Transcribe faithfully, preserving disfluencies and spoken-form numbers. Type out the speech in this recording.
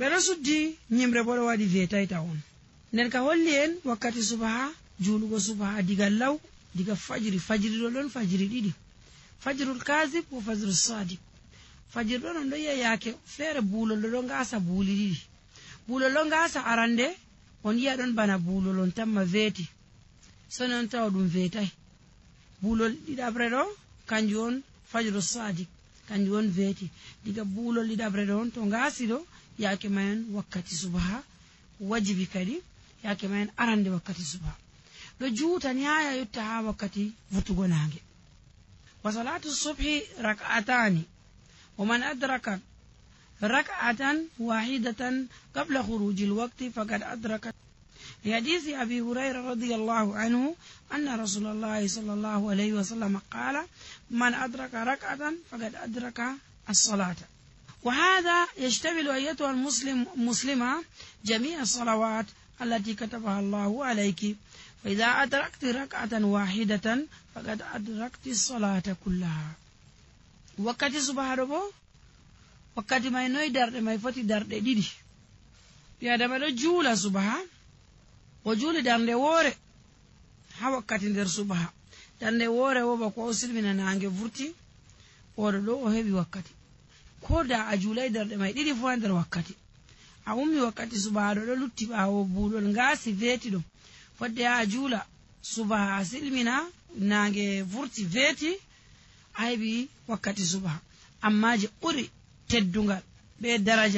Ɓeɗo suddi ñimre boɗo waɗi veetayta on. Nden ka holli en wakkati subaha, juulugo subaha diga law, diga fajiri, fajiri ɗo ɗon fajiri ɗiɗi. Fajrul kasib wo fajrul sadik. Fajiri ɗon on ɗo yiya yaake feere buulol ɗo ɗo ngaasa buuli ɗiɗi. Buulol ɗo ngaasa arande, on yiya ɗon bana buulol on tamma veeti. Soni on tawa ɗum veetay. Buulol ɗiɗaɓre ɗo, kanjum on fajru sadik, kanjum on veeti. Diga buulol ɗiɗaɓre ɗo on to ngaasi ɗo, yaake mayen wakkati subaha wajibi kadi, yaake mayen arande wakkati subaha. Ɗo juuta ni haya yotta ha wakkati vurtugo naange. Wa salatu subhi rak'atani. Wa man adraka rak'atan wahidatan qabla khurujil waqti faqad adraka. لحديث أبي هريرة رضي الله عنه أن رسول الله صلى الله عليه وسلم قال: من أدرك ركعة فقد أدرك الصلاة. وهذا يشتمل أيتها المسلم-، مسلمة جميع الصلوات التي كتبها الله عليك، فإذا أدركت ركعة واحدة فقد أدركت الصلاة كلها. Wakkati subaha ɗo bo, wakkati mai noy darɗe mai foti? Darɗe ɗiɗi. Ɓi adama ɗo juula subaha, o juuli darnde woore ha wakkati nder subaha. Darnde woore wo bako o silmina naange vurti, oɗo ɗo o heɓi wakkati. Ko da a juulai darɗe mai ɗiɗi fu ha nder wakkati, a ummi wakkati subaha ɗo ɗo lutti ɓawo buulol ngaasi veeti ɗo. Fodde ha a juula subaha, a silmina naange vurti veeti, a heɓi wakkati subaha. Amma je ɓuri teddungal be daraja